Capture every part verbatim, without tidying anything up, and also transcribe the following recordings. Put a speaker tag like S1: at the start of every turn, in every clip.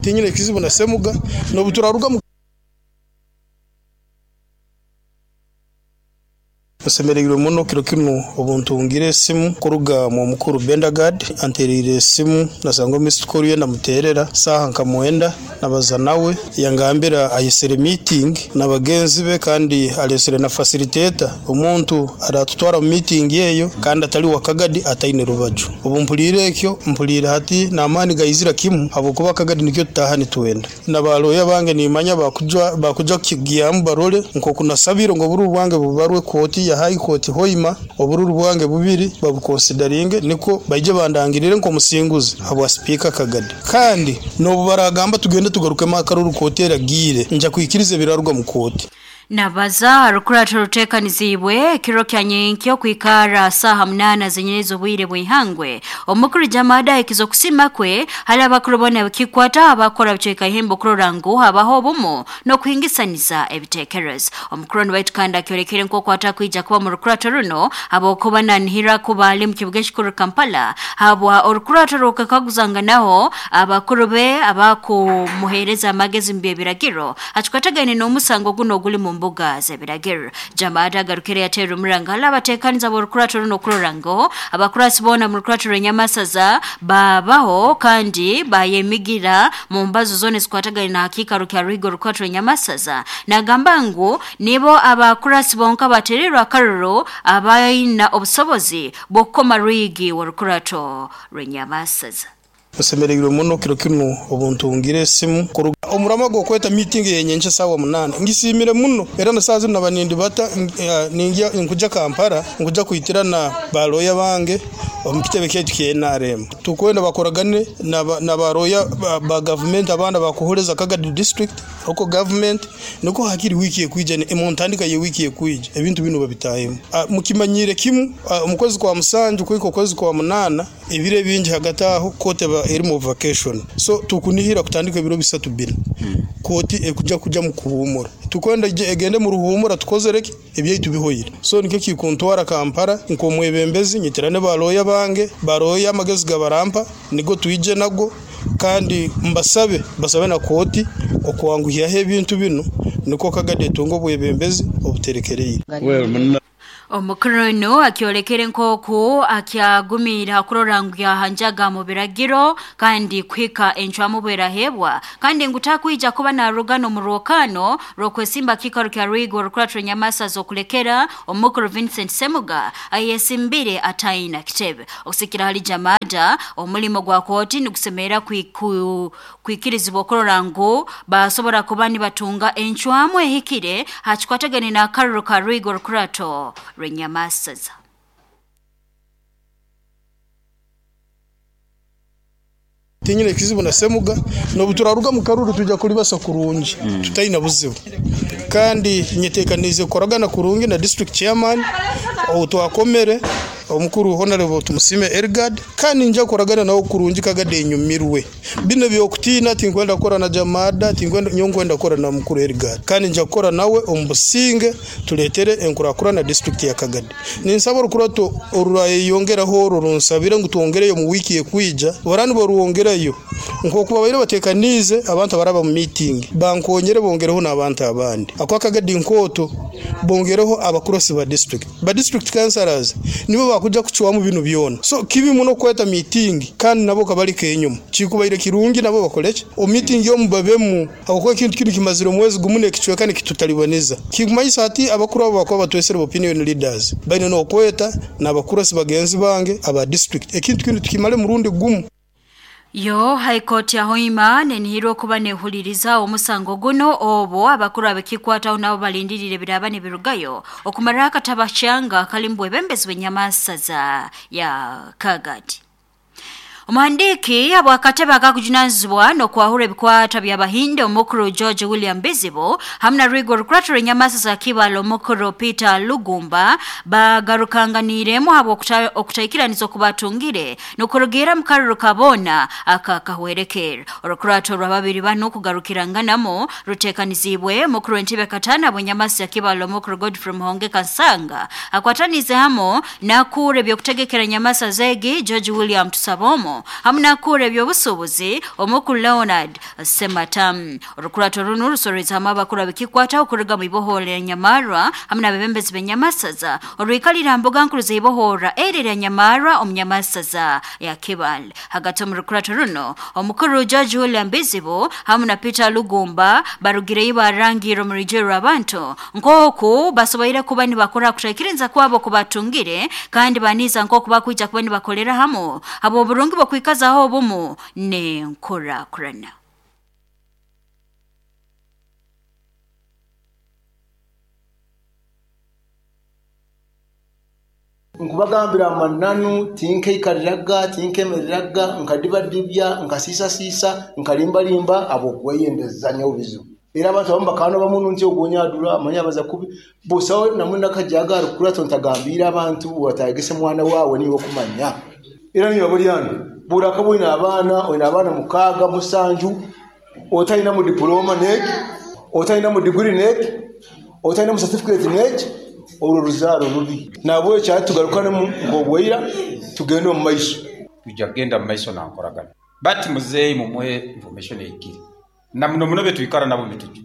S1: Tinyine kizibu na Semuga n'obuturaruga mu Nsemereirwe muno kiro kinu obuntungire esimu kuruga mu mukuru Bendagard anterire esimu nasanga missed call ye namuterera saha nka mwenda nabaza nawe yangambira ayesere meeting nabagenzi be kandi alesere na facilitator omuntu aratutwara mu meeting yeyo kandi atali wa Kagadi ataine rubaju. Obu mpulire ekyo mpulire hati namani gaizira kimu habwokuba Kagadi nikyo tutaha nitwenda nabaloya bange nimanya bakujwa bakuja kigyamu barole nkokunasabiro ngo buru bwange bubarwe koti ya High Court Hoima obururu bwange bubiri babukonsideringe niko baije bandangirire nko musinguzi habwa speaker Kagadi kandi nobu baragamba tugende tugaruke makaruru koti eragire nja kwikiriza birarugwa mu koti.
S2: Nabaza rukurato rutekanizibwe kiro kya nyenkyo kwikara saha munana zenyerezo bwire bwihangwe omukuru Jamada ekizo kusima kwe hali abakuru bona bikikwata abakora bicheka ihembo kurora ngu habaho obumu no kuhingisaniza ebitekerezo. Omukuru waitu kandi akyorekere nko kwata kwija kuba mu rukurato runo abokuba nanhira kuba ali mu kibuga kikuru Kampala habwa orukurato rukakaguzanga naho abakuru be abakumuhereza amagezi mbye biragiro achikwatagane n'omusango guno guli mu mbuga z'ebiragiro. Jamada agarukire yatera omuranga abatekaniza b'orukurato runo kurora ngo abakurasi bona mu rukurato rw'Enyamasaza babaho kandi bayemigira mu mbazo zone zikwatagane na hakika rukya ruhigo rukurato rw'Enyamasaza. Nagamba ngu nibo abakurasi bonka batererwa akaruro abayina obusobozi bw'okukoma rwigi w'orukurato rw'Enyamasaza.
S1: Nsemereirwe muno kiro kinu obuntungire esimu kuruga omurama gwo kweta meeting yenyenche sawa munana ngisimire muno era na sazi nabanindi bata ningia nkuja Kampala nkuja kuitirana baloya bange omukitebe kyetu kye N R M tukwenda bakoragane na baroya ba, ba government abana bakuhoreza Kagadi district oko government niko hakiri wiki ekwija ne muntandika ye wiki ekwija ebintu bino babitahemu mukimanyire kimu omukozi kwa musanju kwiko kozi kwa munana ebire bingi hagati aho kote eri mu vacation so tukunihira kutandika ebiro bisatu bina koti ekuja kuja mu kuhumura tukwenda egende mu ruhumura tukozereke ebyaitu bihoyire so nikyo kikuntwara Kampala nko mwebembezi nyitirane baloya bange baroya amagezi gabarampa nigo tuije nago kandi mbasabe basabe na koti okwanguhya ebintu bino niko Kagadi tungo bwebembezi obuterekereye.
S2: Omukuru no akiolekere nkoku akyagumira kurora ngu yahanjaga mu biragiro kandi kwika enchwamu bwerahebwa kandi ngutakwija kuba na rugano mu rwokano rwokwesimba kikaro kya Rwigo rukurato Nyamasaza okulekera omukuru Vincent Semuga ayesimbire ataina kitebe. Okusikira hali Jamada omulimo gwa koti nikusemera kwikirizibwa kurora ngu basobora kuba nibatunga enchwamu ehikire hachikwatagane na akaruru ka Rwigo rukurato Rw'Enyamasaza.
S1: Tinyine kizibu na Semuga n'obuturaruga mu karuru tujya kulibasa kurungi mm. Tutaina buzibu kandi nyetekanize koragana kurungi na district chairman otwakomere omukuru Honorable Tumusime Ergard kandi nja koragana nawo kurungi Kagadi enyumirwe bino byokutina tinkwenda kora na Jamada tinkwenda nyonkwenda kora na mukuru Ergard kandi nja kora nawe omubusinge tuletere enkurakura na district ya Kagadi. Ninsaba orukurato orurayongeraho orunsabire ngu twongereyo mu wiki ekwija barani boruwongerayo nkokuba baire batekanize abantu abaraba mu meeting bankonyere bongereho n'abantu abandi akwa Kagadi nkoto bongereho abakurosi ba district ba district councillors nibo bakuja kuchwamu bino byona so kibi muno kweta meeting kandi nabo kabalike enyuma kikubaire kirungi nabo bakoleche o meeting yo mubabemu akoko kintu kintu kimaziro mwezi gumune kichweka ni kitutalibaniza kikumanyisa ati abakuru abo bakoba batwesere opinion leaders baine no kweta n'abakurosi bagenzi bange aba district ekintu kintu tukimale murundi gumu.
S2: Yo High Court ya Hoima nenihirwa kuba nehuliriza omusango guno obo abakuru abekikwata nabo balindirire biraba nebirugayo okumara akatabashanga kalimbu ebembezi bw'Enyamasaza ya Kagadi. Omuhandiki abwakatebe akakujunanizibwa n'okwahura ebikwata by'Abahinde omukuru George William Bizibu hamwe na Rwigo rukurato rw'Enyamasaza Kibalo omukuru Peter Lugumba bagarukanganiremu habwo okutaikiraniza okubatungire n'okurugira mu karuru kabona akakahwerekera. Orukurato rwa babiri bano kugarukiranganamo rutekanizibwe mukuru w'entebe katana bw'Enyamasaza Kibalo omukuru Godfrey Muhonge Kansanga akwatanize hamo nakure byokutegekera Nyamasaza egi George William Tusabomo eby'emirimo hamu n'akura eby'obusuubuzi omukuru Leonard Sematam. Orukurato runu rusoreza hamwe abakuru abikikwataho kuruga mu ibohora lya Nyamarwa hamu n'abebembezi b'Enyamasaza orwikalira mbuga nkuru z'ibohora eri lya Nyamarwa omu Nyamasaza ya Kibale. Hagati omu rukurato runo omukuru George William Bizibu hamu na Peter Lugumba barugireyo barangirira omu rujero rw'abantu nk'oku basoboire kuba nibakora kutaikirinza kwabo kubatungire kandi baniza nk'oku bakwija kuba nibakolera hamu abo oburungi bwokwikazaho obumu n'enkurakurana.
S3: Nkubagambira amananu tinkeikariraga tinkemereraga nkadibadibya nkasiisasiisa nkalimbalimba abokweyendeza nyobizo era abantu abamu bakano bamuntu nti ogonyadura amanya baza kubi busawe namwe nakajaga arukura tontagambira abantu watagese mwana wawe niwe kumanya era niyo bulyano buraka bwina abaana oyina abaana mukaga musanju otalina mu diploma neki otalina mu degree neki otalina mu certificate neki olwo ruzaaro rubi nabwe kyatugarukanemu ng'obweira tugende omu maiso
S4: tujja kugenda mu maiso nankoragana but muzeeyi mumuhe information eyikire na muno muno betwikara nabo mituju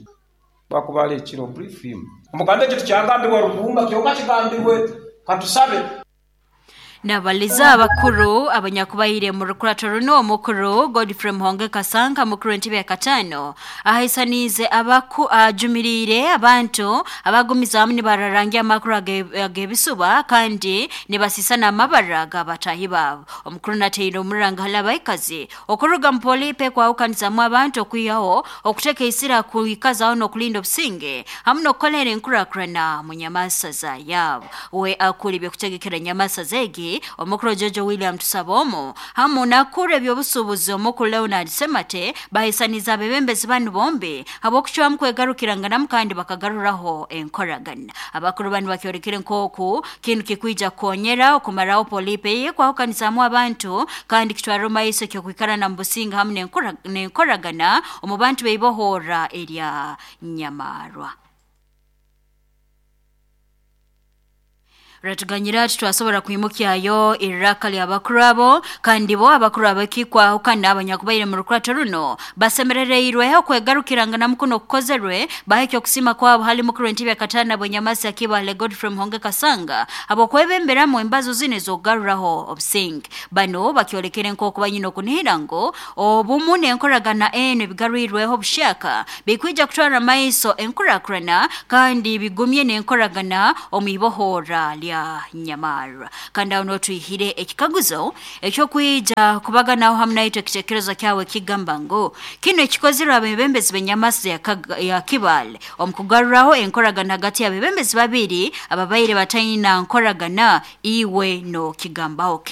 S4: bakubala ekiro brief him omuganda ekyo tukyagambibwa Rugumba kyokka kigambibwe katusabe.
S2: Nabaliza abakuru abanyakubaire mu rukurato runo omukuru Godfrey Muhonge Kasanka mukuru entebe ya katano ahaisanize abaku ajumirire abantu abagumiza hamwe bararangia amakuru agebisuba kandi nibasisana amabara gabatahi babo. Omukuru nateire omuranga halabaikazi okuruga mpolipe kwa ukanisa abantu okwihaho okuteka isira kuikazaho n'okulinda obusinge hamwe n'okukolera enkurakurana mu nyamasaza yabo. We akuri by'okutegekera nyamasaza egi omukuru Jojo William Tusabomo hamu nakure ebyobusuubuzi omukuru Leonard Semate bahisaniza abebembezi banu bombi abokucwamu kwegarukiranganamu kandi bakagaruraho enkoragana. Abakuru banu bakyorekere nkoku kintu kikwija kukonyera okumaraho polipe ye kwahukanizamu abantu kandi kitwara maiso kyokwikarana mu businga hamu n'enkoragana omu bantu beibohora erya Nyamarwa. Ratuganyira twasobora kuimukyayo iraka lya bakurabo kandi bo abakuru abakikwaho kandi abanyakubaire mu rukurato runo basemerereirwe okwegarukirangana mukuno kukozerwe bahekyo kusima kwabo hali mukuru entebe ya katana bwenyamasi Akibale Godfrey Muhonge Kasanga abo kwebemberamu embazo zine zogaruraho obusinge. Bano bakyolekere nk'oku banyina okunihira ngo obumu n'enkoragana eno ebigarwirweho obushaka bikwija kutwara maiso enkurakurana kandi bigumye n'enkoragana omu ibohora lya Nyamarwa. Kandi aho twihire ekikaguzo ekyokwija kubaganaho hamwe naitwe ekitekerezo kyawe kigamba ngo kino ekikozirwe abebembezi b'Enyamasi ya Kibale omukugaruraho enkoragana hagati y'abebembezi babiri ababaire batayina nkoragana iwe no kigambaho.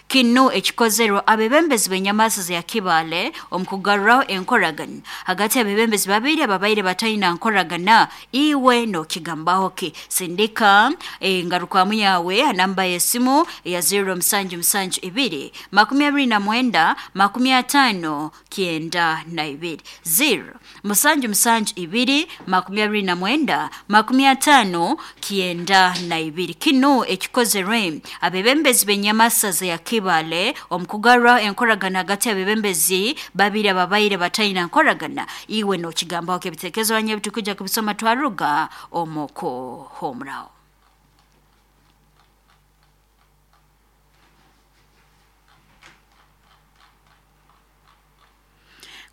S2: Kino ekikozerwa abebembezi b'Enyamasi ya Kibale omukugaruraho enkoragana hagati y'abebembezi babiri ababaire batayina nkoragana iwe no kigambaho ki. Sindika engarukamu yawe namba y'esimu ya zero musanju musanju ibiri makumi abiri na mwenda makumi atano kienda na ibiri zero musanju musanju ibiri makumi abiri na mwenda makumi atano kienda na ibiri. Kino ekikozerwe abebembezi b'Enyamasi ya Kibale omukugarura enkoragana hagati y'abebembezi babiri ababaire batayina nkoragana iwe no kigambaho kebitekezo anye bitukuja kubisoma twaruga omoko homrao.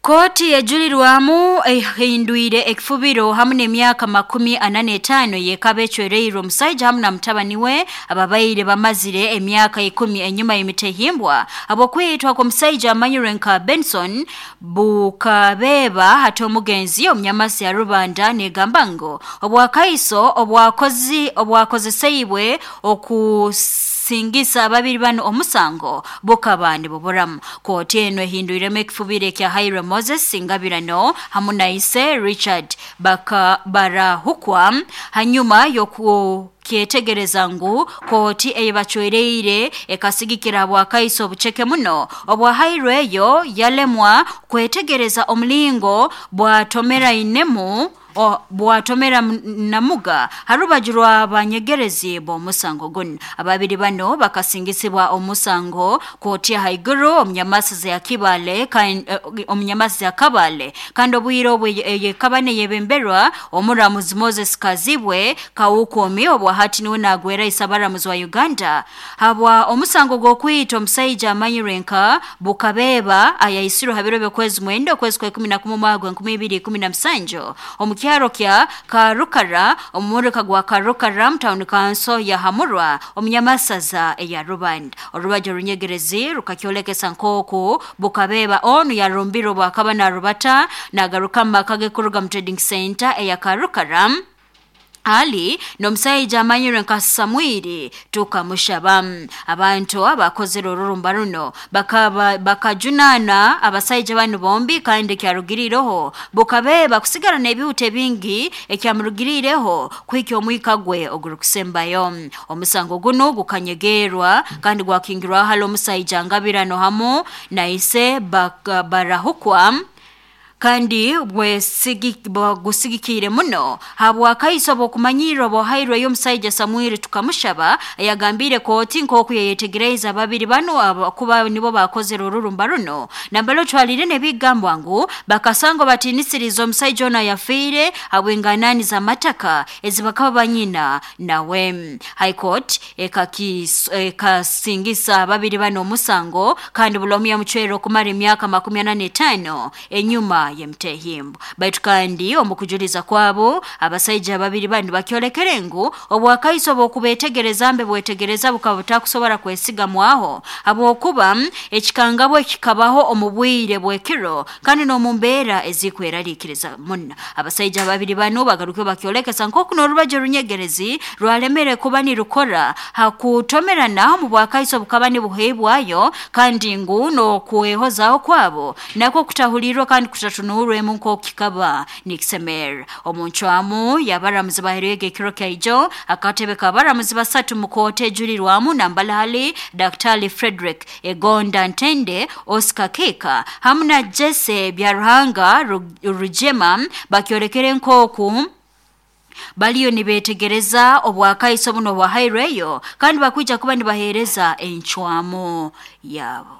S2: Koti ejulirwamu ehindwire ekifubiro hamu n'emyaka makumi ana n'etaano yekaba ecwereirwe omusaija hamu na mutabani we ababaire bamazire emyaka ikumi enyuma y'emitehimbwa abokwitwa kw'omusaija amanyirwe nka Benson Bukabeba hati omugenzi omunyamasi ya Rubanda negamba ngo obwakaiso obwakozi obwakozeseibwe okusingisa ababiri bano omusango bukaba nibuburamu. Koti eno ehindwiremu ekifubiro ekya Haire Moses Singabirano hamu na ise Richard baka barahukwa hanyuma yoku kyetegereza ngu koti eyebachwereire ekasigikira bwakaiso obucheke muno obwahairweyo yalemwa kwetegereza omulingo bwatomera inemu Bwatomera Namuga harubaju rwa banyegerezi b'omusango guno. Ababiri bano bakasingisibwa omusango kooti haiguru omunyamasiza ya Kibale omunyamasiza ya Kabale kandi obwire obwe yekabane yebemberwa omuramuzi Moses Kazibwe Kawukomi obwa hati niwe nagwera isabaramuzi wa Uganda habwa omusango gw'okwita omusaija amanyirwe nka Bukabeba ayaisirwe habiro by'okwezi mwenda okwezi kwa ikumi na kumwe omwaka enkumi ibiri ikumi na musanju omu kyaro kya Karukara omumurika gwa Karukara mu town council ya Hamurwa omunyamasaza eya Rubanda. Orubajo runyegerezi rukakyolekesa nk'oku Bukabeba onu yarumbirwe bwakaba narubata nagaruka mu maka ge kuruga mu trading center eya Karukara ali n'omusaija amanyirwe nka Samwiri tukamushaba. Abantu abakozere orurumba runo bakaba bakajunana abasaija bano bombi kandi kyarugirireho Bukabeba kusigara n'ebihuta bingi ekyamurugirireho kwikya omwika gwe ogurukusembayo. Omusango guno gukanyegerwa kandi gwakingirwa hali omusaija Ngabirano hamu na ise barahukwa kandi bwegusigikire muno habwakaiso bw'okumanyirwa bwahairwe y'omusaija Samwiri tukamushaba yagambire kooti nk'oku yayetegereza babiri bano kuba nibo bakozere orurumba runo nambalo twalire n'ebigambwa ngu bakasangwa batinisiriza omusaija ono yafiire habw'enganani z'amataka ezibakaba banyina nawe. High Court ekasingisa babiri bano omusango kandi buli omu yamucwera okumara emyaka makumi ana n'etaano enyuma yemtehimbo. Baitu kandi omukujuliza kwabo abasaija babiri bandi bakyolekere ngu obwakaiso bw'okubetegereza mbe bwetegereza bukaba butakusobora kwesigamwaho habwokuba ekikangabwa kikabaho omu bwire bw'ekiro kandi n'omu mbeera ezikweraliikiriza muno. Abasaija babiri bano bagaruke bakyolekesa nk'oku n'orubajo runyegerezi rwalemere kuba nirukora hakutomerana omu bwakaiso bukaba nibuheebwayo kandi ngu n'okwehozaho kwabo nakwo kutahulirwa kandi kutatunuurwemu nk'okikaba nikisemera. Omuncwamu y'abaramuzi baheerwege ekiro kyaijo akatebe k'abaramuzi basatu mu kooti ejulirwamu Nambalali Daktari Frederick Egonda Ntende, Oscar Keka hamu na Jesse Byaruhanga Rugema bakyolekere nk'oku baliyo nibetegereza obwakaiso buno bwahairweyo kandi bakwija kuba nibaheereza encwamu yabo.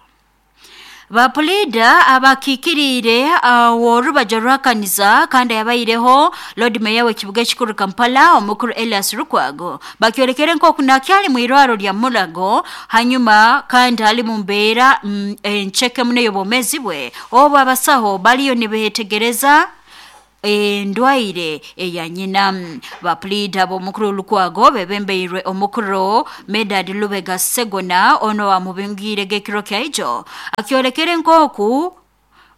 S2: Bapolida abakikirire aworubajo rwakaniza kandi yabaireho Lord Mayor w'ekibuga ekikuru Kampala omukuru Elias Lukwago bakyolekere nk'oku nakyali mu irwaro lya Mulago hanyuma kandi ali mu mbeera mm, encheke muno y'obwomezi bwe obu abasaho baliyo nibetegereza endwaire eya nyina. Bapolida b'omukuru Lukwago bebembeirwe omukuru Medard Lubega Segona ono amubingire gekiro kyaijo akyolekere nk'oku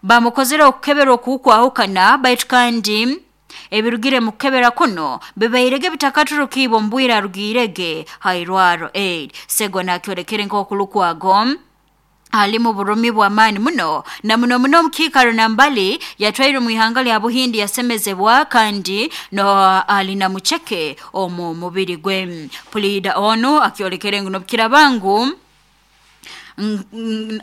S2: bamukozere okukebera okukwahukana baitu kandi ebirugire mu kukebera kuno bibairege bitakaturukiibwa omu bwire arugirege hairwaro aid. Segona akyolekere nk'oku Lukwago alimu burumi bw'amaani muno na muno muno omukiikaro nambali yatwairwe mu ihanga lya Buhindi yasemezebwa kandi no alina mucheke omu mubiri gwe. Pulida ono akyolekere ngu n'obukiraba ngu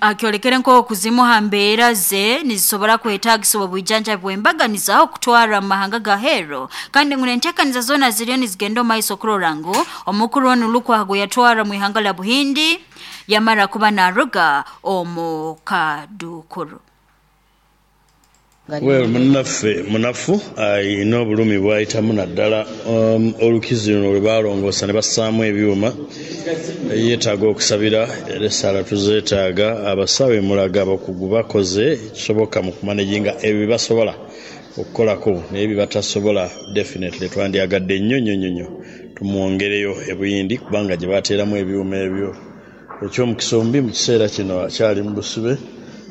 S2: akyolekere nk'okuzimu ha mbeera ze nizisobora kwetaagisibwa obwijanjabi bw'embaganiza okutwara mu mahanga ga heero kandi ngu n'enteekaniza zoona ziriyo nizigenda omu maiso okurora ngu omukuru onu Lukwago yatwara mu ihanga lya Buhindi yamara kuba naruga omu kadukuru.
S5: Well, munnaffe munafu ayina obulumi bwayitamu naddala um, olukizi luno lwe baalongoosa ne bassaamu ebyuma. Yeetaaga okusabira era essaala tuzeetaaga. Abasawo emulaga abakugu bakoze ekisoboka mu kumanaginga ebyo bye basobola okukolako naye bye batasobola definitely twandyagadde nnyo nnyo nnyo nnyo tumwongereyo ebuyindi kubanga gye bateeramu ebyuma ebyo. Ekyomukisa omubi mu kiseera kino akyali mu busibe,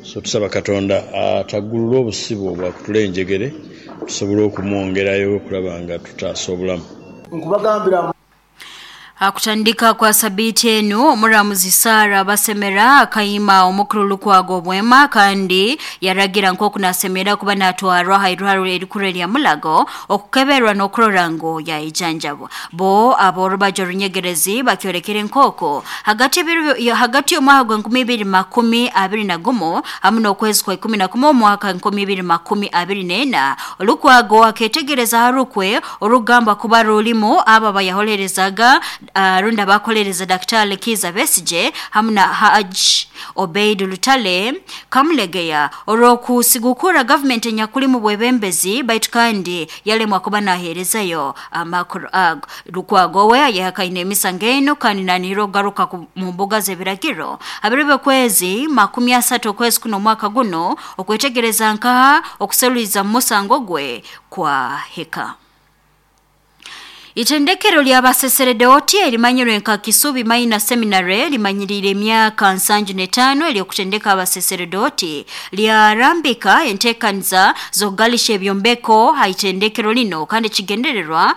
S5: so tusaba Katonda ataggulule obusibe obwo akutule enjegere tusobole okumwongerayo okulaba nga tutaasa obulamu.
S3: Nkubagambira.
S2: Hakutandika kwa sabiti enu omuramuzi Sara Basemera akayima omukuru Lukwago Bwema kandi yaragira nkoku nasemera kuba natwarwa hairwaro erikuru lya Mulago okukeberwa n'okurora ngo yayijanjabwa. Bo aborubajo runyegerezi bakyorekere nkoko hagati hagati y'omwaka gwa nkumi ibiri makumi abiri na gumu hamwe n'okwezi kwa ikumi na kumwe omwaka nkumi ibiri makumi abiri n'ena Lukwago aketegereza harukwe orugamba kuba rulimu aba bayaholerezaga Uh, runda bakolereza Daktari Kiza Besije hamwe na Haj Obeid Lutale Kamulegeya olw'okusigukura government enyakuli mu bwebembezi baitu kandi yalemwa kuba naherezayo amakuru ago. Lukwago we yahakaine emisango eno kandi nanihira okugaruka mu mbuga z'ebiragiro abiribe kwezi makumi asatu okwezi kuno omwaka guno okwetegereza nkaha okuseruliza mu musango gwe kwa heka. Itendekero lya baseseredoti elimanyirwe nka Kisubi Minor Seminary limanyirire emyaka nsanju n'etaano eryokutendeka abaseseredoti lyarambika enteekaniza z'okugalisha ebyombeko ha itendekero lino kandi kigendererwa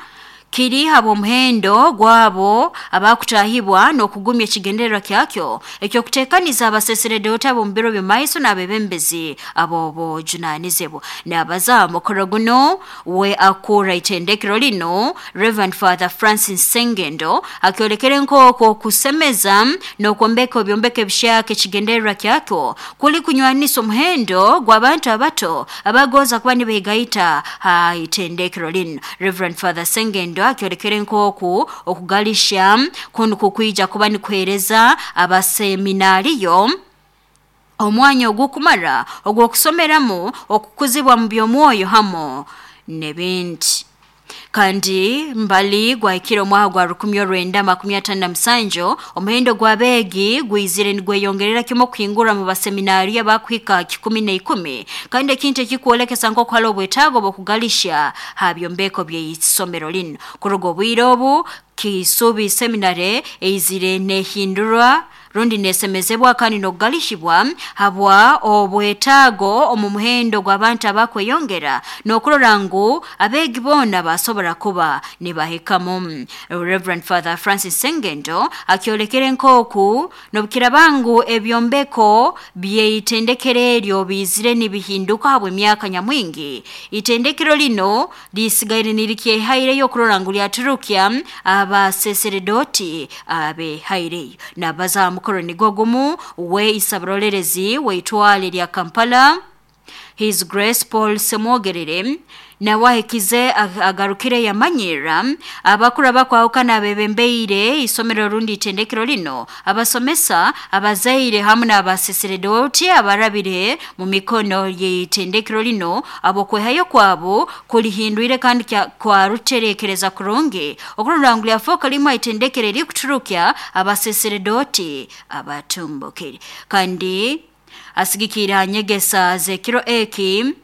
S2: kiri habo omuhendo gwabo abakutahibwa n'okugumya ekigendererwa kyakyo ekyokuteekaniza abaseseredoti ab'omu biro by'omumaiso n'abebembezi ab'obujunanizibwa. N'abaza mukoro guno we akura itendekero lino Reverend Father Francis Sengendo akyolekere nk'okwo okusemeza n'okwombeka ebyombeko ebishaka ekigendererwa kyakyo kuli kunywanisa omuhendo gw'abantu abato abagoza kuba nibeegaita ha itendekero lino. Reverend Father Sengendo akyolekere nkoku okugalisha kunu kukwija kuba nikuhereza abaseminariyo omwanya ogukumara ogw'okusomeramu okukuzibwa mu by'omwoyo hamo n'ebindi. Kandi mbali gwahikire omwaka gwa rukumi orwenda makumi atano na musanju omuhendo gw'abeegi gwizire nigweyongerera kimwe okuhingura mu baseminari abakuhika kikumi n'ikumi kandi ekintu ekikwolekesa nk'oku hariho obwetaago bw'okugalisha ha byombeko by'eisomero lino. Kuruga obwire obu Kisubi Seminary eizire nehindurwa rundi nesemezebwa kandi n'okugalishibwa habwa obwetaago omu muhendo gw'abantu abakweyongera n'okurora ngu abeegi boona basobora kuba nibahikamu. Reverend Father Francis Sengendo akyolekere nk'oku n'obukiraba ngu ebyombeko by'eitendekero eryo bizire nibihinduka habw'emyaka nyamwingi, itendekero lino lisigaire nirikyehaireyo okurora ngu lyaturukya abaseseredoti abehaireyo. Nabaza mukoro nigo gumu we isabarolerezi weitwale lya Kampala His Grace Paul Semwogerere nawahekize agarukire yamanyira abakuru abakwahukana abebembeire isomero rundi itendekero lino abasomesa abazaire hamwe n'abaseseredoti abarabire mu mikono y'itendekero lino abo kwehayo kwabo kulihindwire kandi kwaruterekereza kurungi okurora ngu lyafoka limwe itendekero erikuturukya abaseseredoti abatumbukire. Kandi asigikira nyegesa zekiro eki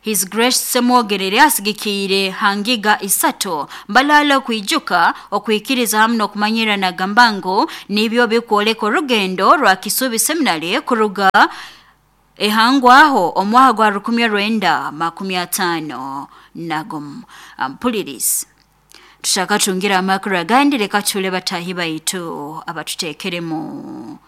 S2: His Grace Semwogerere asigikire hangiga isato mbalala okwijuka okwikiriza hamwe n'okumanyira nagamba ngu nibyo bikwoleka orugendo rwa Kisubi Seminary kuruga ehangwaho omwaka gwa rukumi rwenda makumi atano na gumu. Ampulirizi tushaka tungira amakuru agandi reka tule batahi baitu abatuteekeremu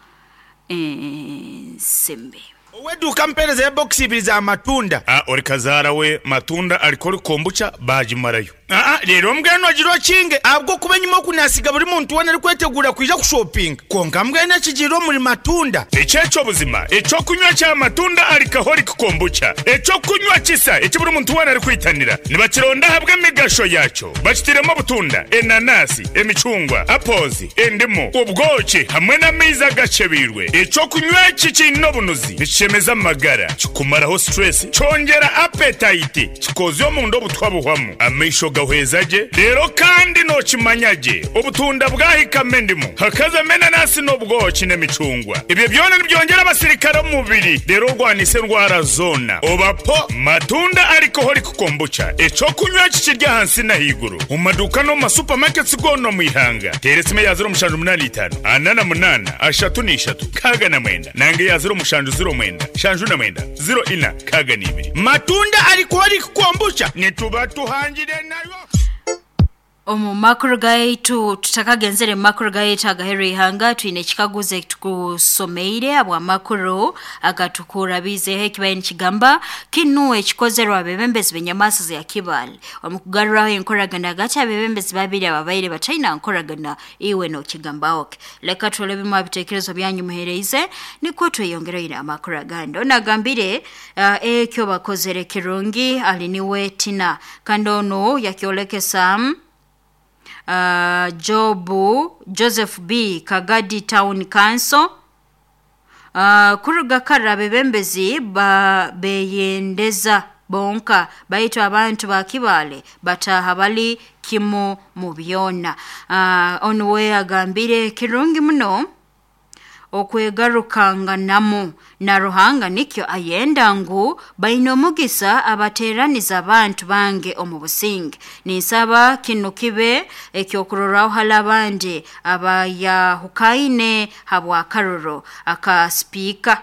S2: ensimbi.
S6: Oweduka mpereza ya box ibiri za matunda.
S7: Ah, ori kazara we matunda alikori kombucha bajimarayo.
S6: Ah, rero mbwenu agiro kinge abwo kuba nyuma kunasiga buri muntu wena ari kwetegura kwija kushopping. Konka mbwenu akigiro muri matunda.
S7: Echecho buzima, echo kunywa cha matunda alcoholic kombucha. Echo kunywa kisa eki buri muntu wena ari kwitanira. Nibakironda habwe emigasho yacho. Bakitiremo butunda, enanasi, emicungwa, apples, endimu, ubwoki hamwe n'amaizi agacebirwe. Echo kunywa iki kino bunuzi. Nikishemeza amagara, kikumaraho stress, cyongera appetite, kikozyo mu ndo butwabuhwamu. Amaisho gahwezaje rero kandi nokimanyage obutunda bwahikame ndimu hakaza menanasi n'obwoki n'emicungwa ibyo byona nibyongera abasirikare mu mubiri rero rwanise ndwara zona obapo matunda alcoholic kombucha eco kunywa kikirya hansi na higuru mu maduka no mu supermarkets gono mu ihanga teresime ya zero mushanju munani itanu anana munana ashatu n'ishatu kaga na mwenda nange ya zero mushanju zero mwenda shanju na mwenda zero ina kaga n'ibiri
S6: matunda alcoholic kombucha nituba tuhangire nayo.
S2: Omu makuru gaitu tutakagenzere mu makuru gaitu agaheru ihanga twine ekikaguzo ekitukusomeire abw'amakuru agatukurabizeho ekibaye nikigamba kinu ekikozerwa abebembezi b'enyamaasa za Kibale omu kugaruraho enkoragana hagati abebembezi babiri ababaire bataina nkoragana iwe nokigambaho ke. Leka turole bimu abitekerezo byanyu muhereize nikwo tweyongereire amakuru agandi. Ono agambire uh, ekyo bakozere kirungi ali niwe Tina kandi ono yakyolekesa Uh, Jobu Joseph B Kagadi Town Council uh, kuruga kara abebembezi ba beyendeza bonka baitu abantu ba Kibale bataha bali kimu mu byona. Uh, ono we agambire kirungi muno okwegarukanganamu na Ruhanga nikyo ayenda ngu baine omugisa abateraniza abantu bange omu businge. Ninsaba kinu kibe ekyokurorraho hali abandi abayahukaine habw'akaroro aka sipiika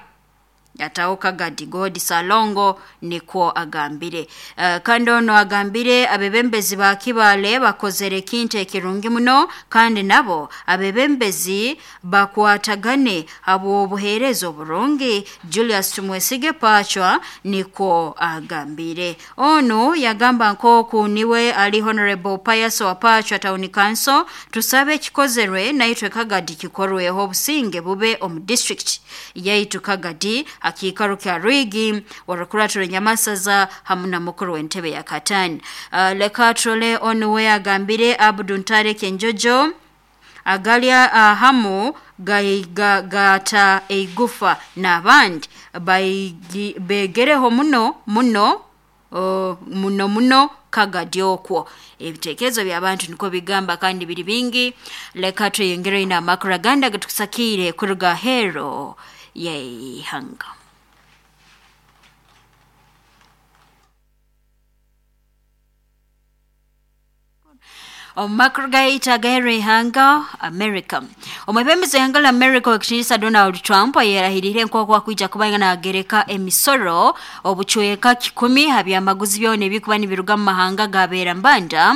S2: yataho Kagadi Godi Salongo nikwo agambire. Uh, kandi ono agambire abebembezi ba Kibale bakozere ekintu ekirungi muno kandi nabo abebembezi bakwatagane habw'obuheereza oburungi. Julius Tumwesige Pachwa nikwo agambire. Ono yagamba nk'oku niwe ali Honorable Pius wa Pachwa Town Council tusabe ekikozerwe naitwe Kagadi kikorweho obusinge bube omu district yaitu Kagadi akikaro kya Rwigi warukuraturo Nyamasaza hamu na mukuru w'entebe ya Katani. Uh, leka trole onu we agambire Abdu Ntare Kenjojo agalya uh, hamu gaiga gata eigufa n'abandi begereho muno muno uh, muno muno Kagadi okwo. Ebitekerezo by'abantu niko bigamba kandi biri bingi. Leka tweyongere ina amakuru agandi agatusakire kuruga hero yeihanga. Omu makuru gaitu agaheru ihanga America. Omwebembezi w'ihanga la America w'ekitinisa Donald Trump ayerahirire nk'oku akwija kuba naagereka emisoro obucweka kikumi ha byamaguzi byona ebikuba nibiruga mu mahanga gabeera mbanda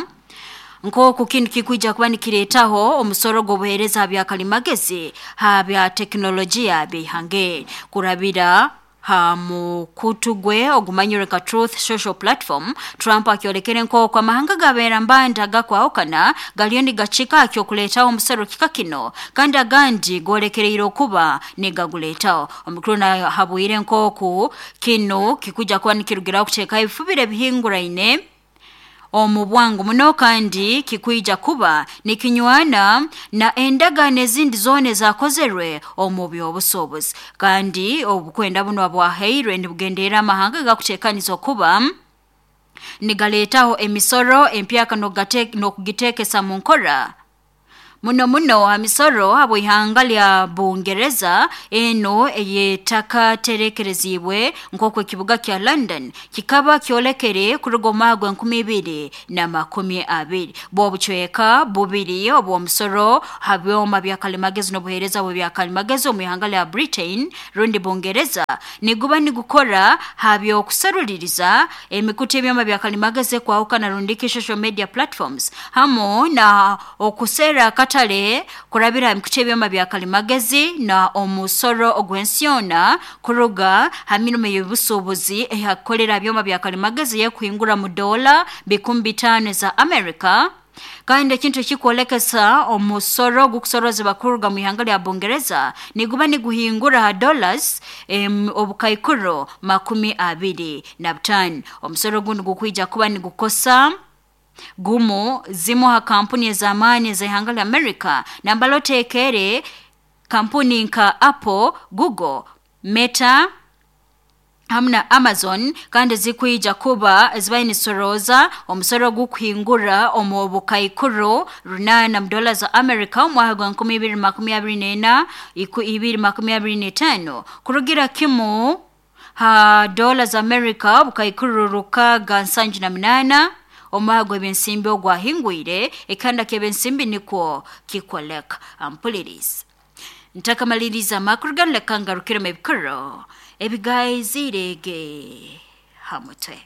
S2: nk'oku kintu kikwija kuba nikireetaho omusoro gw'obuheereza ha byakalimagezi ha bya tekinolojiya by'ihanga kurabira ha mukutu gwe ogumanyire nka Truth Social Platform. Trump akyolekere nk'oku amahanga gabeera mbanda gakwahukana galiyo nigacika akyokuleetaho omusoro kika kino kandi agandi golekereire okuba nigaguleetaho. Omukuru nahabwire nk'oku kino kikuja kuba nikirugiraho kuteekaho ebifubiro ebihinguraine omu bwangu muno kandi kikwija kuba nikinywana na endagaano ezindi zoona ezakozerwe omu by'obusuubuzi. Kandi obukwenda buno bwahairwe nibugenderera amahanga gakuteekaniza okuba nigaleetaho emisoro empyaka n'okugiteekesa mu nkora muno muno amisoro habw'ihanga lya Bungereza eno eyetakaterekerezibwe nk'oku ekibuga kya London kikaba kyolekere kuruga omu mwaka gw'enkumi ibiri na makumi abiri. Bw'obucweka bubiri obw'omusoro ha byoma byakalimagezi n'obuheereza bw'ebyakalimagezi omu ihanga lya Britain rundi Bungereza niguba nigukora ha by'okuseruliriza emikutu ebyoma byakalimagezi ekwahukana rundiki social media platforms hamu na okusera katale kurabira emikutu ebyoma byakalimagezi na omusoro ogw'ensiona kuruga ha mirimo y'obusuubuzi ehakukolera byoma byakalimagezi yekuhingura mu dola bikumi bitaano za America. Kandi ekintu ekikwolekesa omusoro gukusorozebwa kuruga mu ihanga lya Bungereza niguba niguhingura ha dollars em, obukaikuro makumi abiri na butaano. Omusoro guno gukwija kuba nigukosa gumu zimu ha kampuni ez'amaani ez'ihanga lya America nambala oteekere kampuni nka Apple, Google, Meta hamu na Amazon kandi zikwija kuba zibaye nisoroza omusoro gukuhingura omu bukaikuru runana mu dola za America omwaka gwa nkumi ibiri makumi abiri n'ena iku ibiri makumi abiri n'etaano kurugira kimu ha dola za America bukaikuru rukaga nsanju na munana omwaka gw'ebyensimbi ogwahingwire ekanda ky'ebyensimbi nikwo kikoleka. Ampuliriza ntakamaliriza amakuru ganu leka ngarukiremu ebikuru ebigaizirege ha mutwe.